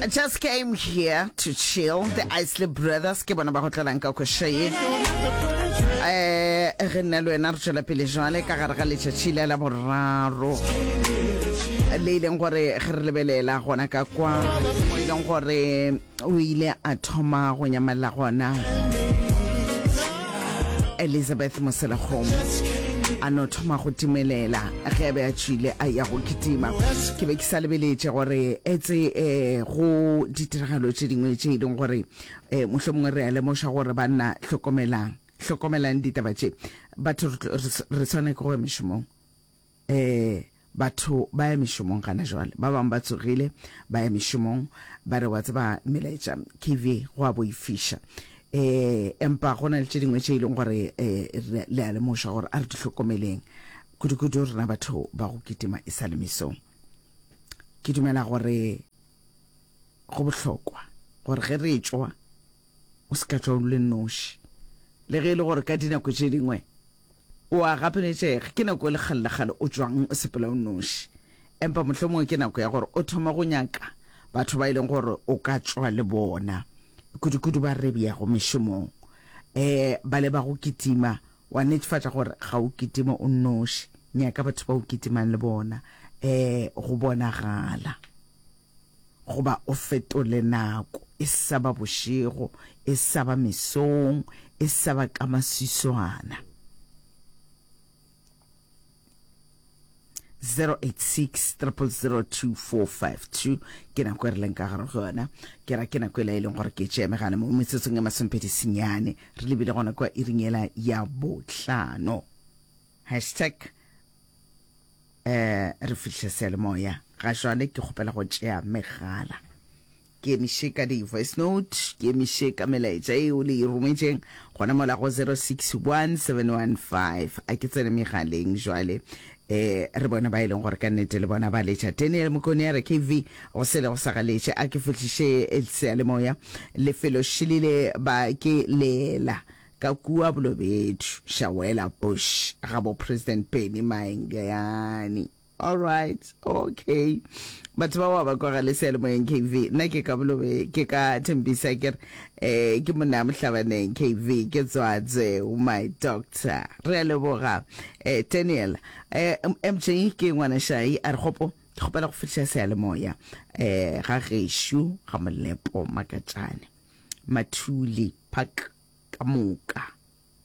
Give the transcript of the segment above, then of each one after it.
I just came here to chill. The Isley Brothers ke bona ba go tlelang ka koša ye. Eh, ge nna le wena re tšwela pele jwale ka gare ga letšatši la la boraro le e leng gore ge re lebelela gona ka kwa mo e leng gore o ile a thoma go nyamella gona Elizabeth Moselekgomo a no thoma go timelela ge a be a tšwile a ya go kitima. Ke be ke sa lebeletše gore etse um go ditiragalo tše dingwe tše e leng gore um mohlomongwe re a lemoša gore banna hlokomelang, hlokomelang ditaba tše. Batho re swanela ke go ya mešomong. Ee, batho ba ya mešomong gana jwale. Ba bangwe ba tsogile ba ya mešomong, ba re, Wa tseba, melaetša, KV, go a boifiša. Ee, empa go na le tše dingwe tše e leng gore ee, le a lemošwa gore a re di hlokomeleng, kudu-kudu rena batho ba go kitima e sa le mesong. Ke dumela gore go bohlokwa gore ge re tšwa, o se ka tšwa o le noši. Le ge e le gore ka dinako tše dingwe o a gapeletšega, ke nako e le kgale le kgale o tšwang o sepela o noši. Empa mohlomongwe ke nako ya gore o thome go nyaka batho ba e leng gore o ka tšwa le bona, kudu-kudu ba re beago mešomong. Um ba le ba go kitima, wa netefatša gore ga o kitime o nnoši. Nyaka batho ba o kitimang le bona, um go bonagala. Goba o fetole nako, e sa ba bošego, e sa ba mesong, e sa ba ka maswiswana. 086 0002452 ke nako e re leng ka gare go yona. Ke ra ke nako e la e leng gore ke tšea megala mo metsotsong e masomepedi senyane re lebile gona kwa iring ela ya bohlano. Hashtag Eh, re fihle seyalemoya. Ga jwale ke kgopela go tšea megala. Ke emiše ka di-voice note, ke emiše ka melaetša eo le e rometšeng gona mola go 061715. A ke tsene megaleng jwale. Eh, re bone ba e leng gore ka nnete le bona ba letša. Daniel Mokone a re KV go sele go sa galetše a ke fihliše seyalemoya. Lefelo šilile ba ke lela. Ka kua Bolobedu, Shawela Bush, ga bo President Benny Maengeyane. Alright, okay. Batho ba wa ba kwa ga le seyalemoyeng KV. Nna ke ka Bolobe, ke ka Thembisa ke re eh ke monna mohlabaneng KV ke tswatswe my doctor. Re a leboga eh Daniel. Eh MJ ke ngwana shai a re gopo ke kgopela go fihla seyalemoya eh ga gešo ga Molepo Makatšane. Mathuli Park ka moka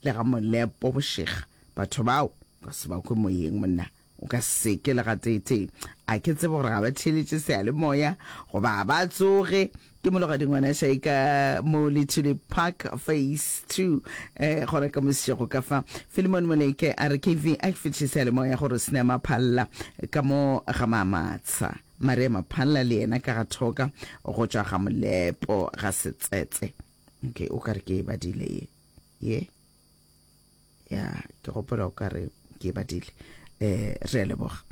le ga Molepo bošega. Batho bao ka se ba kwe moyeng monna, o ka se ke le gateetee. A ke tsebe gore ga ba theeletše seyalemoya goba ga ba tsoge. Ke Mologadi ngwana Shai ka mo Lethuli Park Phase 2 eh, gona ka mosešego ka fa. Philemon Moleke a re KV a ke fetiše seyalemoya gore Sne Maphalla ka mo ga Mamatsha. Maria Maphalla le yena ka ga Thoka go tšwa ga Molepo ga Setsetse. Okay, o ka re ke e badile ye. Ye? Ya, ke gopola o ka re ke e badile. Eh, re a leboga.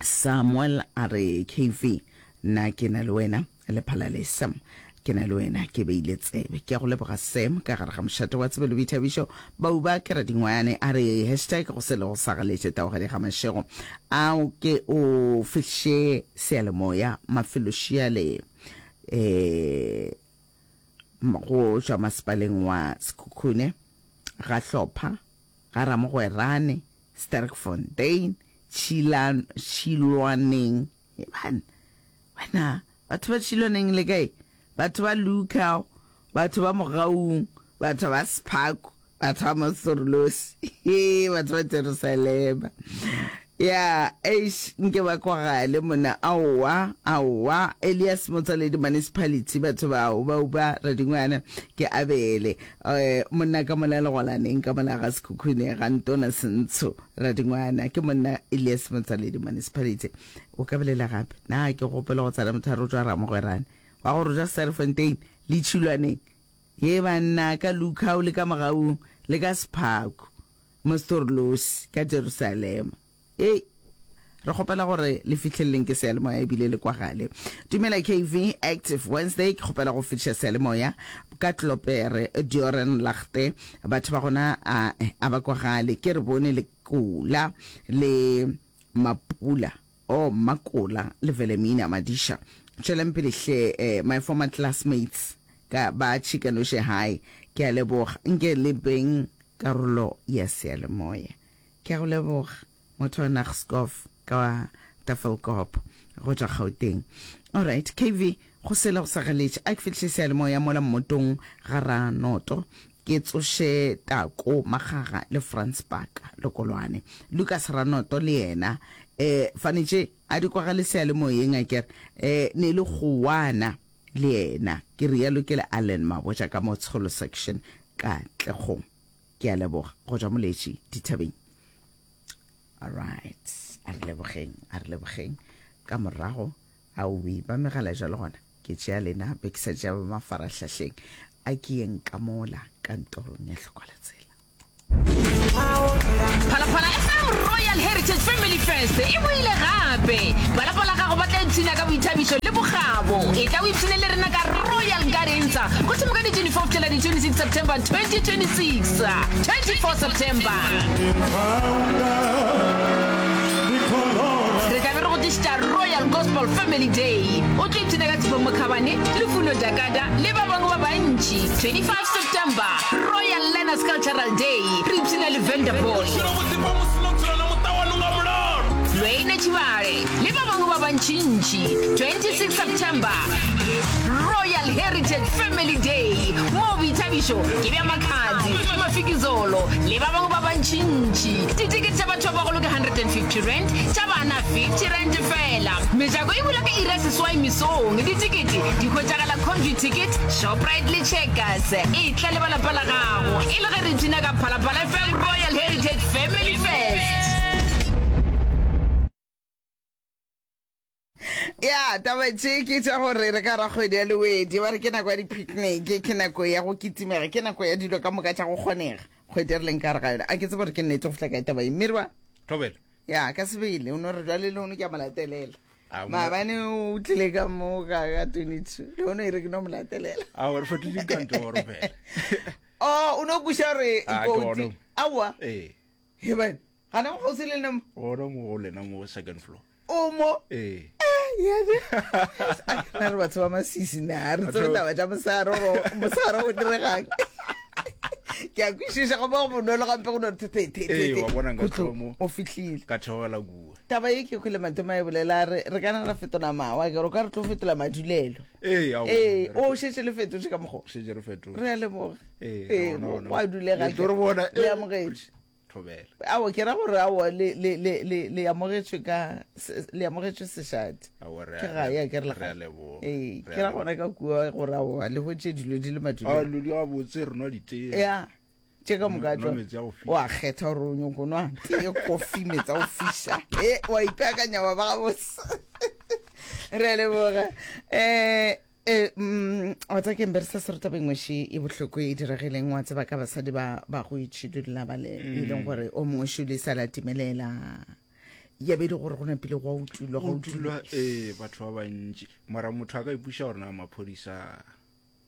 Samuel a re KV, nna ke na le wena le phalale Sam. Ke na le wena ke beile tsebe. Ke a go leboga Sam ka gare ga mošate wa tsebe le boithabišo. Bauba ke radingwane a re hashtag go se le go sa galetše taogadi ga mašego. A o ke o fihliše seyalemoya mafelošiale eh go tšwa masepaleng wa Sekhukhune ga Hlopha ga Ramogwerane Sterkfontein Tšhilano Tšhilwaneng bana wena batho ba Tšhilwaneng le kae batho ba Lukau batho ba Mogaung batho ba Sephako Batho ba Mosorolosi, hee, batho ba Jerusalema. Ya, eish, nke ba kwagale mona. Aowa, aowa. Elias Motswaledi Municipality, batho bao, ba uba radingwana, ke Abele. Eh, monna ka mola Legolaneng, ka mola ga Sekhukhune, ga Ntona Sentsho, radingwana. Ke monna Elias Motswaledi Municipality. O ka bolela gape? Na ke gopola go tsena motho a re o tšwa Ramogwerane, wa go re o tšwa Sterkfontein, le Tšhilwaneng. Ye banna, ka Lukhau le ka Mogaung, le ka Sephaku, mo Storlosi, ka Jerusalema. Hei, re kgopela gore le fihleleleng ke seyalemoya ebile le kwagale. Dumela KV, Active Wednesday, ke kgopela go fihliša seyalemoya ka Klopere, Dioren Lagte, batho ba gona a, a ba kwagale. Ke re bone le Kula le Mapula. Oh, Mmakola le Velemina Madisha. Tšwelang pele hle eh, my former classmates ka ba Tšhikanoše High. Ke a leboga. Nke le beng karolo ya seyalemoya. Ke a go leboga motho wa Naagskov ka Tafelkop go tšwa Gauteng. Alright, KV, go sele go sa galetše. A ke fihliše seyalemoya mola mmotong ga Ranoto. Ke tsoše Tako Magaga le Frans Paka Lekolwane. Lukas Ranoto le yena eh fanetše a di kwagale seyalemoyeng akere eh ne le gowana le yena. Ke realo ke le Allen Mabotja ka mo Tsholo Section Katlehong. Ke a leboga go tšwa Moletši dithabeng. Alright, a re lebogeng, a re lebogeng. Ka morago, aowi, ba megala jalo gona. Ke tšea lena, be ke sa tšea ba mafarahlahleng. A ke yeng ka mola kantorong ya Hlokwalatsela. Phalaphala FM Royal Heritage Family Fest e boile gape! Ba lapa la gago ba tla ipshina ka boithabišo le bokgabo. Etla o ipshine le rena ka Royal Gardens go thoma ka di 24 go fihlela di 26 September 2026. 24 September. Re tla be re go tlišetša Royal Gospel Family Day. O tlo ipshina ka Tshepo Mokhabane, Lufuno Dakada le ba bangwe ba bantši. 25 September, Royal Learners Cultural Day, re ipshina le Vanderboy. Lwene Tšhibale le ba bangwe ba bantšintši. 26 September, Royal Heritage Family Day, moo boithabišo ke bja Makhadzi, Mafikizolo le ba bangwe ba bantšintši. Ditekete tša batho ba bagolo ke R150, tša bana R50 fela. Mejako e bula ka iri ya seswai mesong. Ditekete di hwetšagala Computicket, Shoprite le Checkers. Etla le ba lapa la gago e le ge re ipshina ka Phalaphala FM Royal Heritage Family Fest. Ya, taba tše ke tša gore re ka ra kgwedi ya Lewedi, ba re ke nako ya di-picnic, ke nako ya go kitimega, ke nako ya dilo ka moka tša go kgonega. Kgwedi e re leng ka gare ga yona. A ke tsebe gore ke nnete go fihla kae taba ye. Mmirwa? Thobela. Ya, ka sebele, o no re jwale le hono ke a mo latelela. Maabane o tlile ka mo ka ka 22, le hono e re ke no mo latelela. Aowa, re fetotše dikantoro fela. Oh, o no kweša gore Ah, ke kotsi. gona. Aowa. Ee. He Gana go kgauswi le nna mo. Gona mo go lena mo second floor. O mo? Ee. Yane. Na re batho ba masisi na re tsebe taba tša mosaro gore mosaro o diregang. Ke a kwešiša go ba go bonolo gampe go no re the the Ee, wa bona nka tloga mo. O fihlile. Ka theogela kua. Taba ye ke kwele Matome a e bolela a re re ka na ra fetola mawa ke re o ka re tlo fetola madulelo. Ee, aowa. Ee, o šetše le fetotše ka mokgwa. Šetše re fetotše. Re a leboga. Ee, Ee, gona, gona. go a dulega. Le tlo re bona, Le ee. amogetše. Thobela. Aowa, ke ra gore aowa le, le, le, le, le amogetšwe ka, se, le amogetšwe sešate. Aowa, re a Ke gae, a ke re le re a gae. leboga. Ee, Re ke a ra leboga. gona ka kua gore aowa le hwetše dilo di le A madulong. dilo di gabotse, re nwa ditee. Ya, tše ka moka Nwa tšona. metsi a go fiša. O a kgetha gore o nyoko nwa tee, kofi, metsi a go fiša. E, wa ipeakanya wa ba gabotse. Re a leboga. Eh, E, mm, wa tseba ke mberisa se re tabeng ngweši e bohloko e diregileng wa tseba ka basadi ba ba go itšhidulla ba le e leng gore o mongwe šule sa la timelela ya be e le gore go napile go a utulwa go go utulwa utulwa ee batho ba bantši mara motho a ka ipuša gore na maphodisa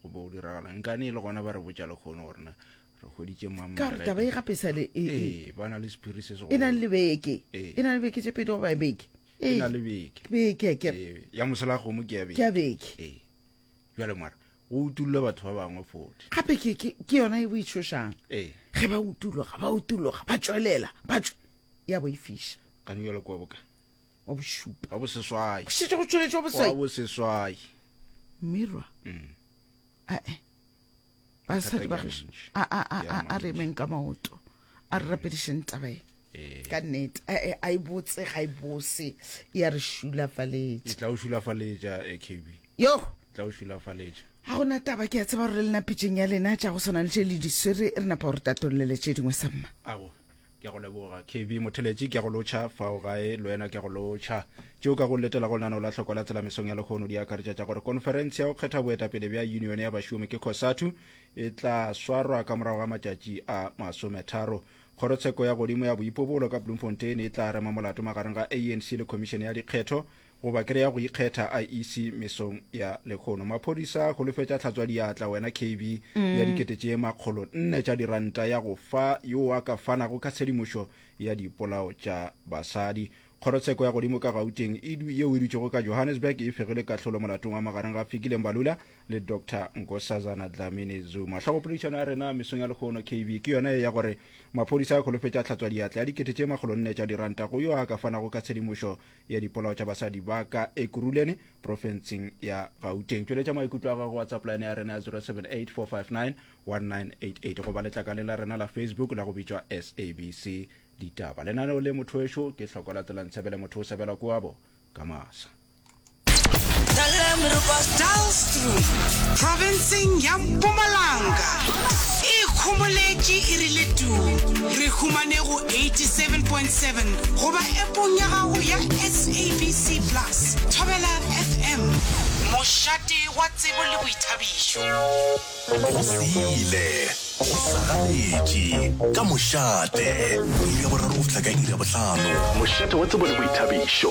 go bo go diragala nkane e le gona ba re botša lekgono gore na re hweditše mang ka gore taba e gape e sa le e, e, ee ba na le sephiri se e na segolo le beke Ee. e na le beke tše pedi goba beke e na le beke beke ke ee ya mosela kgomo ke ya ke ya beke beke ee bjale mara go utulle batho ba bangwe fote gape ke ke ke yona e boitšhošang ee ge ba utuloga ba utuloga ba tšwelela ba tšwe ya boifiša kane bjale kwa boka wa bošupa wa boseswai go šetše go tšweletše wa wa boswai boseswai mmirwa Mm. ae basadi ba Mathata ke a gešo mantši. a a a Ke a a a re mantši. emeng ka maoto a re rapedišeng taba e Ee. ka nnete a a e botse ga e bose e a re e šulafaletša tla o šulafaletša akb yo e tla o šulafaletša ga gona taba ke a tseba gore le lena pitšeng ya lena tša go swana le tše le di swere re napa gore tatollele tše dingwe samma ago ke a go leboga kb motheletši ke a go lotšha fao gae le wena ke a go lotšha tšeo ka go letela go lenaneo la hlokwa la tsela mesong ya lehono di akaretša tša gore konferense ya go kgetha boetapele bja unione ya bašomi ke cosatu e tla swarwa ka morago ga matšatši a masometharo Kgorotsheko ya Godimo ya Boipobolo ka Bloemfontein e tla rema molato magareng ga ANC le Khomišene ya Dikgetho goba kere ya go ikgetha, IEC, mesong ya lehono. Maphodisa a holofetša tlhatswadiatla wena KB ya 400,000 tša diranta ya go fa yo a ka fanago ka tshedimošo ya dipolao tša basadi. Kgorotsheko ya godimo ka Gauteng e yeo e dutšego ka Johannesburg e fegile kahlolo molatong wa magareng ga Fikile Mbalula le Doctor Nkosazana Dlamini Zuma. Hlogopoledišano ya rena mesong ya lehono KB ke yona ye ya gore maphodisa a kholofetša tlhatswadiatla ya dikete tše makgolonne tša diranta go yo a ka fanago ka tshedimošo ya dipolao tša basadi ba ka Ekurhuleni profenseng ya Gauteng. Tšweletša maikutlo a gago WhatsApp line ya rena ya 078 459 1988 goba letlakaleng la rena la Facebook la go bitšwa SABC Ditaba. Lenaneo le motho wešo ke hloko la tsela ntshebele motho o sebela koabo ka masa. Dullstroom, profenseng ya Mpumalanga, e ikhomoletše e rile tuu. Re humane go 87.7 goba epong ya gago ya SABC Plus. Thobela FM, mošate wa tsebo le boithabišo. Go sele, go sagaletše, ka mošate, iri ya boraro go fihla ka iri ya bohlano. Mošate wa tsebo le boithabišo.